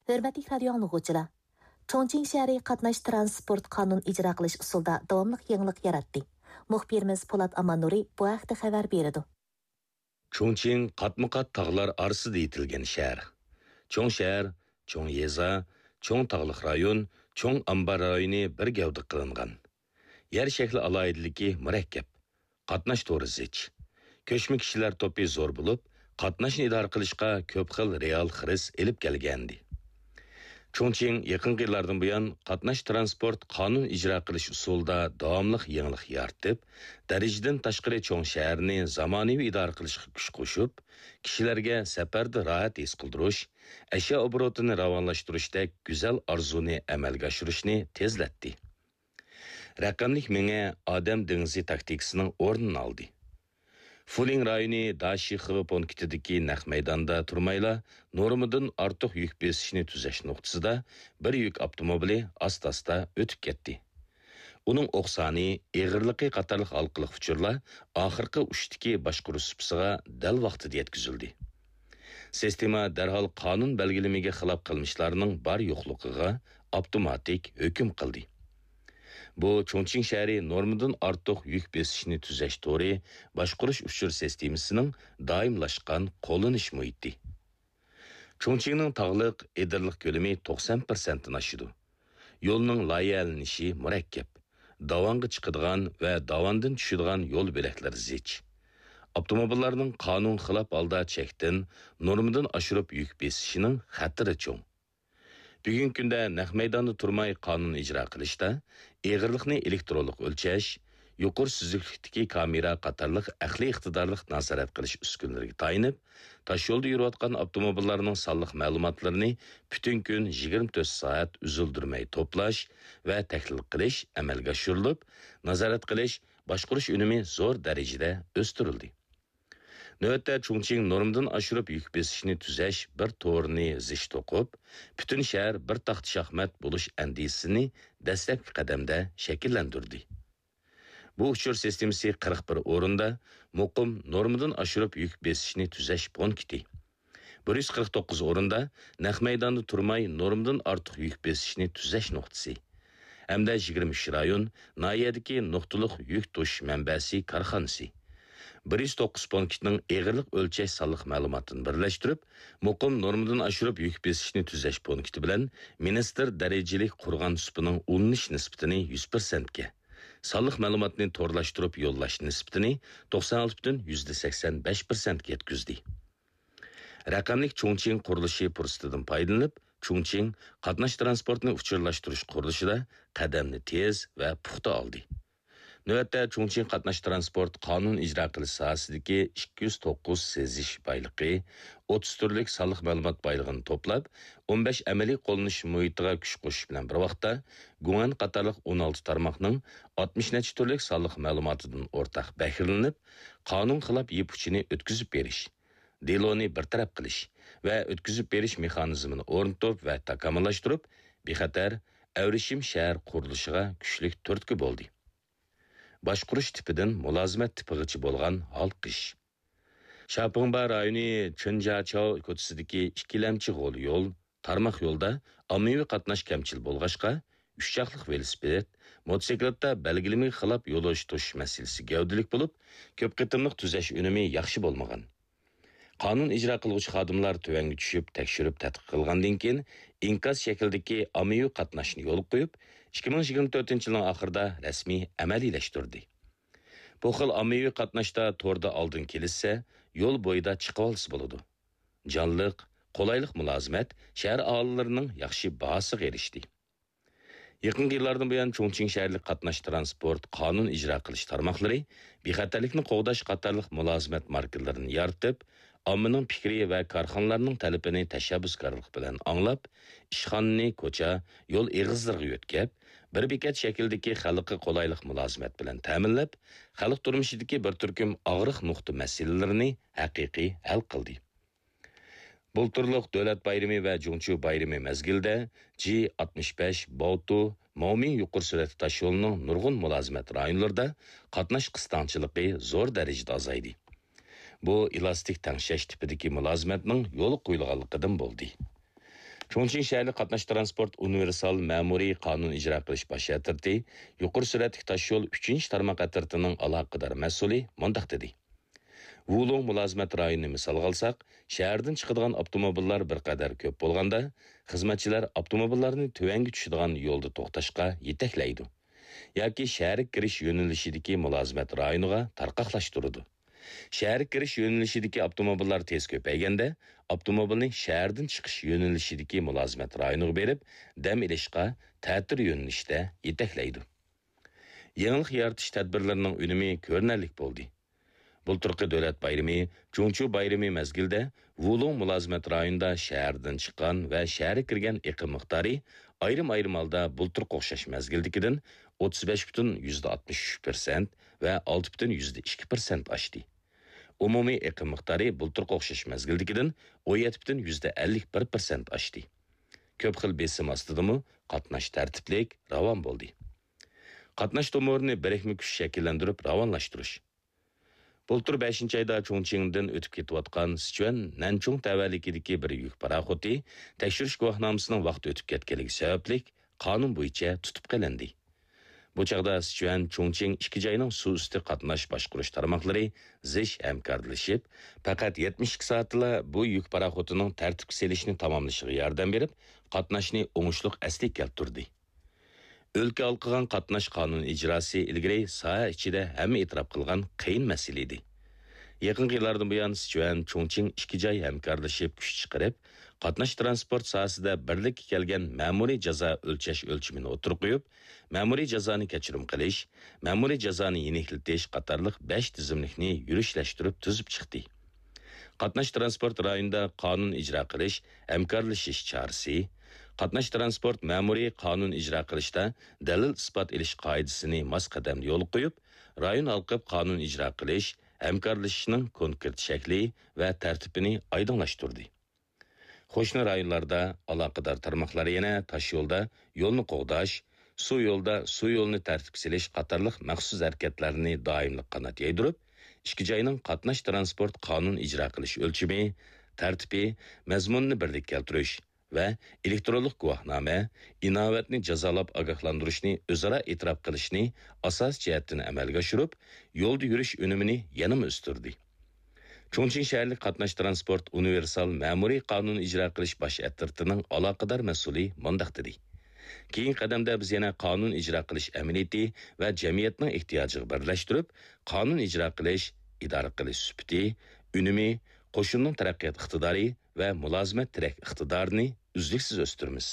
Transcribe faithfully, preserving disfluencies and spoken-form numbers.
ھۆرمەتلىك رادىيو ئاڭلىغۇچىلار! چۇڭچىڭ شەھىرى قاتناش تىرانسپورت قانۇن ئىجرا قىلىش ئۇسۇلىدا داۋاملىق يېڭىلىق ياراتتى. مۇخبىرىمىز پولات ئاماننۇرى بۇ ھەقتە خەۋەر بېرىدۇ. چۇڭچىڭ قاتمۇقات تاغلار ئارىسىدا يېتىلگەن شەھەر. چوڭ شەھەر، چوڭ يېزا، چوڭ تاغلىق رايون، چوڭ ئامبار رايونى بىر گەۋدە قىلىنغان. يەر شەكلى ئالاھىدىلىكى مۇرەككەپ. قاتناش تورى زىچ. كۆچمە كىشىلەر توپى زور بولۇپ، قاتناشنى ئىدارە قىلىشقا كۆپ خىل رېئال خىرىس ئېلىپ كەلگەنىدى. چۇڭچىڭ يېقىنقى يىللاردىن بۇيان قاتناش تىرانسپورت قانۇن ئىجرا قىلىش ئۇسۇلىدا داۋاملىق يېڭىلىق يارىتىپ، دەرىجىدىن تاشقىرى چوڭ شەھەرنى زامانىۋى ئىدارە قىلىشقا كۈچ قوشۇپ، كىشىلەرگە سەپەردە راھەت ھېس قىلدۇرۇش، ئەشيا ئوبوروتىنى راۋانلاشتۇرۇشتەك گۈزەل ئارزۇنى ئەمەلگە ئاشۇرۇشنى تېزلەتتى. رەقەملىك مېڭە ئادەم دېڭىزى تاكتىكىسىنىڭ ئورنىنى ئالدى. فۇلىڭ رايونى داشىخې پونكىتىدىكى نەق مەيداندا تۇرمايلا، نورمىدىن ئارتۇق يۈك بېسىشنى تۈزەش نۇقتىسىدا بىر يۈك ئاپتوموبىلى ئاستا-ئاستا ئۆتۈپ كەتتى. ئۇنىڭ ئوق سانى، ئېغىرلىقى قاتارلىق ھالقىلىق ئۇچۇرلار ئاخىرقى ئۇچتىكى باشقۇرۇش سۇپىسىغا دەل ۋاقتىدا يەتكۈزۈلدى. سىستېما دەرھال قانۇن بەلگىلىمىگە خىلاپ قىلمىشلارنىڭ بار-يوقلۇقىغا ئاپتوماتىك ھۆكۈم قىلدى. بۇ چۇڭچىڭ شەھىرى نورمىدىن ئارتۇق يۈك بېسىشنى تۈزەش تورى باشقۇرۇش ئۇچۇر سىستېمىسىنىڭ دائىملاشقان قوللىنىش مۇھىتى. چۇڭچىڭنىڭ تاغلىق، ئېدىرلىق كۆلىمى توقسان پىرسەنتتىن ئاشىدۇ. يولنىڭ لايىھەلىنىشى مۇرەككەپ. داۋانغا چىقىدىغان ۋە داۋاندىن چۈشىدىغان يول بۆلەكلىرى زىچ. ئاپتوموبىللارنىڭ قانۇنغا خىلاپ ھالدا چەكتىن، نورمىدىن ئاشۇرۇپ يۈك بېسىشىنىڭ خەتىرى چوڭ. بۈگۈنكى كۈندە نەق مەيداندا تۇرماي قانۇن ئىجرا قىلىشتا، ئېغىرلىقنى ئېلېكترونلۇق ئۆلچەش، يۇقىرى سۈزۈكلۈكتىكى كامېرا قاتارلىق ئەقلىي ئىقتىدارلىق نازارەت قىلىش ئۈسكۈنىلىرىگە تايىنىپ، تاشيولدا يۈرۈۋاتقان ئاپتوموبىللارنىڭ سانلىق مەلۇماتلىرىنى پۈتۈن كۈن يىگىرمە تۆت سائەت ئۈزۈلدۈرمەي توپلاش ۋە تەھلىل قىلىش ئەمەلگە ئاشۇرۇلۇپ، نازارەت قىلىش، باشقۇرۇش ئۈنۈمى زور دەرىجىدە ئۆستۈرۈلدى. نۆۋەتتە چۇڭچىڭ نورمىدىن ئاشۇرۇپ يۈك بېسىشنى تۈزەش بىر تورىنى زىچ توقۇپ، پۈتۈن شەھەر بىر تاختا شاھمات بولۇش ئەندىزىسىنى دەسلەپكى قەدەمدە شەكىللەندۈردى. بۇ ئۇچۇر سىستېمىسى قىرىق بىر ئورۇندا مۇقىم نورمىدىن ئاشۇرۇپ يۈك بېسىشنى تۈزەش پونكىتى، بىر يۈز قىرىق توققۇز ئورۇندا نەق مەيداندا تۇرماي نورمىدىن ئارتۇق يۈك بېسىشنى تۈزەش نۇقتىسى ھەمدە يىگىرمە ئۈچ رايون، ناھىيەدىكى نۇقتىلىق يۈك توشۇش مەنبەسى كارخانىسى، بىر يۈز توققۇز پونكىتنىڭ ئېغىرلىق ئۆلچەش سانلىق مەلۇماتىنى بىرلەشتۈرۈپ، مۇقىم نورمىدىن ئاشۇرۇپ يۈك بېسىشنى تۈزەش پونكىتى بىلەن مىنىستىر دەرىجىلىك قۇرغان سۇپىنىڭ ئۇلىنىش نىسبىتىنى يۈز پىرسەنتكە، سانلىق مەلۇماتنى تورلاشتۇرۇپ يوللاش نىسبىتىنى توقسان ئالتە پۈتۈن يۈزدە سەكسەن بەش پىرسەنتكە يەتكۈزدى. رەقەملىك چۇڭچىڭ قۇرۇلۇشى پۇرسىتىدىن پايدىلىنىپ، چۇڭچىڭ قاتناش تىرانسپورتىنى ئۇچۇرلاشتۇرۇش قۇرۇلۇشىدا قەدەمنى تېز ۋە پۇختا ئالدى. نۆۋەتتە چۇڭچىڭ قاتناش تىرانسپورت قانۇن ئىجرا قىلىش ساھەسىدىكى ئىككى يۈز توققۇز سېزىش بايلىقى، ئوتتۇز تۈرلۈك سانلىق مەلۇمات بايلىقىنى توپلاپ، ئون بەش ئەمەلىي قوللىنىش مۇھىتىغا كۈچ قوشۇش بىلەن بىر ۋاقىتتا، گۇڭئەن قاتارلىق ئون ئالتە تارماقنىڭ ئاتمىش نەچچە تۈرلۈك سانلىق مەلۇماتىدىن ئورتاق بەھرىلىنىپ، قانۇن خىلاپ يىپ ئۇچىنى ئۆتكۈزۈپ بېرىش، دېلونى بىر تەرەپ قىلىش ۋە ئۆتكۈزۈپ بېرىش مېخانىزمىنى ئورنىتىپ ۋە تاكامۇللاشتۇرۇپ، بىخەتەر، ئەۋرىشىم شەھەر قۇرۇلۇشىغا كۈچلۈك تۈرتكە بولدى. باشقۇرۇش تىپىدىن مۇلازىمەت تىپىغىچە بولغان ھالقىش. شاپىڭبا رايونى چېنجاچاۋ كوچىسىدىكى ئىككىلەمچى غول يول، تارماق يولدا ئاممىۋى قاتناش كەمچىل بولغاچقا، ئۈچ چاقلىق ۋېلىسىپىت، موتوسىكلىتتا بەلگىلىمىگە خىلاپ يولۇچى توشۇش مەسىلىسى گەۋدىلىك بولۇپ، كۆپ قېتىملىق تۈزەش ئۈنۈمى ياخشى بولمىغان. قانۇن ئىجرا قىلغۇچى خادىملار تۆۋەنگە چۈشۈپ تەكشۈرۈپ تەتقىق قىلغاندىن كېيىن، ئىنكاس شەكلىدىكى ئاممىۋى قاتناشنى يولغا قويۇپ، ئىككى مىڭ يىگىرمە تۆتىنچى يىلنىڭ ئاخىرىدا رەسمىي ئەمەلىيلەشتۈردى. بۇ خىل ئاممىۋى قاتناشتا توردا ئالدىن كېلىشسە، يول بويىدا چىقىۋالسا بولىدۇ. جانلىق، قولايلىق مۇلازىمەت شەھەر ئاھالىلىرىنىڭ ياخشى باھاسىغا ئېرىشتى. يېقىنقى يىللاردىن بۇيان، چۇڭچىڭ شەھەرلىك قاتناش تىرانسپورت قانۇن ئىجرا قىلىش تارماقلىرى بىخەتەرلىكنى قوغداش قاتارلىق مۇلازىمەت ماركىلىرىنى يارىتىپ، ئاممىنىڭ پىكرى ۋە كارخانىلارنىڭ تەلىپىنى تەشەببۇسكارلىق بىلەن ئاڭلاپ، ئىشخانىنى كوچا، يول ئېغىزلىرىغا يۆتكەپ، بىر بېكەت شەكلىدىكى خەلققە قولايلىق مۇلازىمەت بىلەن تەمىنلەپ، خەلق تۇرمۇشىدىكى بىر تۈركۈم ئاغرىق نۇقتا مەسىلىلىرىنى ھەقىقىي ھەل قىلدى. بۇلتۇرلۇق دۆلەت بايرىمى ۋە جۇڭچيۇ بايرىمى مەزگىلىدە جى ئاتمىش بەش باۋتۇ ماۋمىڭ يۇقىرى سۈرئەتلىك تاشيولىنىڭ نۇرغۇن مۇلازىمەت رايونلىرىدا قاتناش قىستاڭچىلىقى زور دەرىجىدە ئازايدى. بۇ ئېلاستىك تەڭشەش تىپىدىكى مۇلازىمەتنىڭ يولغا قويۇلغانلىقىدىن بولدى. چۇڭچىڭ شەھەرلىك قاتناش تىرانسپورت ئۇنىۋېرسال مەمۇرىي قانۇن ئىجرا قىلىش باش ئەترىتى يۇقىرى سۈرئەتلىك تاشيول ئۈچىنچى تارماق ئەترىتىنىڭ ئالاقىدار مەسئۇلى مۇنداق دېدى: ۋۇلۇڭ مۇلازىمەت رايونىنى مىسالغا ئالساق، شەھەردىن چىقىدىغان ئاپتوموبىللار بىر قەدەر كۆپ بولغاندا، خىزمەتچىلەر ئاپتوموبىللارنى تۆۋەنگە چۈشىدىغان يولدا توختاشقا يېتەكلەيدۇ. ياكى شەھەرگە كىرىش يۆنىلىشىدىكى مۇلازىمەت رايونىغا تارقاقلاشتۇرىدۇ. شەھەرگە كىرىش يۆنىلىشىدىكى ئاپتوموبىللار تېز كۆپەيگەندە، ئاپتوموبىلنى شەھەردىن چىقىش يۆنىلىشىدىكى مۇلازىمەت رايونىغا بېرىپ، دەم ئېلىشقا تەتۈر يۆنىلىشتە يېتەكلەيدۇ. يېڭىلىق يارىتىش تەدبىرلىرىنىڭ ئۈنۈمى كۆرۈنەرلىك بولدى. بۇلتۇرقى دۆلەت بايرىمى، جۇڭچۇ بايرىمى مەزگىلىدە ۋۇلۇڭ مۇلازىمەت رايونىدا شەھەردىن چىققان ۋە شەھەرگە كىرگەن ئېقىم مىقدارى ئايرىم-ئايرىم ھالدا بۇلتۇرقى ئوخشاش مەزگىلدىكىدىن ئوتتۇز بەش پۈتۈن يۈزدە ئاتمىش ئۈچ پىرسەنت ۋە ئالتە پۈتۈن يۈزدە ئىككى پىرسەنت ئاشتى. ئومۇمىي ئېقىم مىقدارى بۇلتۇرقى ئوخشاش مەزگىلدىكىدىن ئون يەتتە پۈتۈن يۈزدە ئەللىك بىر پىرسەنت ئاشتى. كۆپ خىل بېسىم ئاستىدىمۇ قاتناش تەرتىپلىك، راۋان بولدى. قاتناش تومۇرىنى بىرىكمە كۈچ شەكىللەندۈرۈپ راۋانلاشتۇرۇش. بۇلتۇر بەشىنچى ئايدا چۇڭچىڭدىن ئۆتۈپ كېتىۋاتقان سىچۈەن نەنچۇڭ تەۋەلىكىدىكى بىر يۈك پاراخوتى تەكشۈرۈش گۇۋاھنامىسىنىڭ ۋاقتى ئۆتۈپ كەتكەنلىكى سەۋەبلىك، قانۇن بويىچە تۇتۇپ قېلىندى. بۇ چاغدا سىچۈەن چۇڭچىڭ ئىككى جاينىڭ سۇ ئۈستى قاتناش باشقۇرۇش تارماقلىرى زىچ ھەمكارلىشىپ، پەقەت يەتمىش ئىككى سائەتتىلا بۇ يۈك پاراخوتىنىڭ تەرتىپكە سېلىشنى تاماملىشىغا ياردەم بېرىپ، قاتناشنى ئوڭۇشلۇق ئەسلىگە كەلتۈردى. ئۆلكە ھالقىغان قاتناش قانۇن ئىجراسى ئىلگىرى ساھە ئىچىدە ھەممە ئېتىراپ قىلغان قىيىن مەسىلە ئىدى. يېقىنقى يىللاردىن بۇيان، سىچۈەن، چۇڭچىڭ ئىككى جاي ھەمكارلىشىپ كۈچ چىقىرىپ، قاتناش تىرانسپورت ساھەسىدە بىرلىككە كەلگەن مەمۇرىي جازا ئۆلچەش ئۆلچىمىنى ئوتتۇرىغا قويۇپ، مەمۇرىي جازانى كەچۈرۈم قىلىش، مەمۇرىي جازانى يېنىكلىتىش قاتارلىق بەش تىزىملىكنى يۈرۈشلەشتۈرۈپ تۈزۈپ چىقتى. قاتناش تىرانسپورت رايونىدا قانۇن ئىجرا قىلىش، ھەمكارلىشىش چارىسى، قاتناش تىرانسپورت مەمۇرىي قانۇن ئىجرا قىلىشتا دەلىل-ئىسپات ئېلىش قائىدىسىنى ماس قەدەمدە يولغا قويۇپ، رايون ھالقىپ قانۇن ئىجرا قىلىش، ھەمكارلىشىشنىڭ كونكرېت شەكلى ۋە تەرتىپىنى ئايدىڭلاشتۇردى. قوشنا رايونلاردا ئالاقىدار تارماقلار يەنە تاشيولدا يولنى قوغداش، سۇ يولدا سۇ يولىنى تەرتىپكە سېلىش قاتارلىق مەخسۇس ھەرىكەتلەرنى دائىملىق قانات يايدۇرۇپ، ئىككى جاينىڭ قاتناش تىرانسپورت قانۇن ئىجرا قىلىش ئۆلچىمى، تەرتىپى، مەزمۇنىنى بىرلىككە كەلتۈرۈش ۋە ئېلېكترونلۇق گۇۋاھنامە، ئىناۋەتنى جازالاپ ئاگاھلاندۇرۇشنى ئۆزئارا ئېتىراپ قىلىشنى ئاساسىي جەھەتتىن ئەمەلگە ئاشۇرۇپ، يولدا يۈرۈش ئۈنۈمىنى يەنىمۇ ئۆستۈردى. چۇڭچىڭ شەھەرلىك قاتناش تىرانسپورت ئۇنىۋېرسال مەمۇرىي قانۇن ئىجرا قىلىش باش ئەترىتىنىڭ ئالاقىدار مەسئۇلى مۇنداق دېدى: كېيىنكى قەدەمدە بىز يەنە قانۇن ئىجرا قىلىش ئەمەلىيىتى ۋە جەمئىيەتنىڭ ئېھتىياجىغا بىرلەشتۈرۈپ، قانۇن ئىجرا قىلىش، ئىدارە قىلىش سۈپىتى، ئۈنۈمى، قوشۇننىڭ تەرەققىيات ئىقتىدارى ۋە مۇلازىمەت تىرەك ئىقتىدارىنى ئۈزلۈكسىز ئۆستۈرىمىز.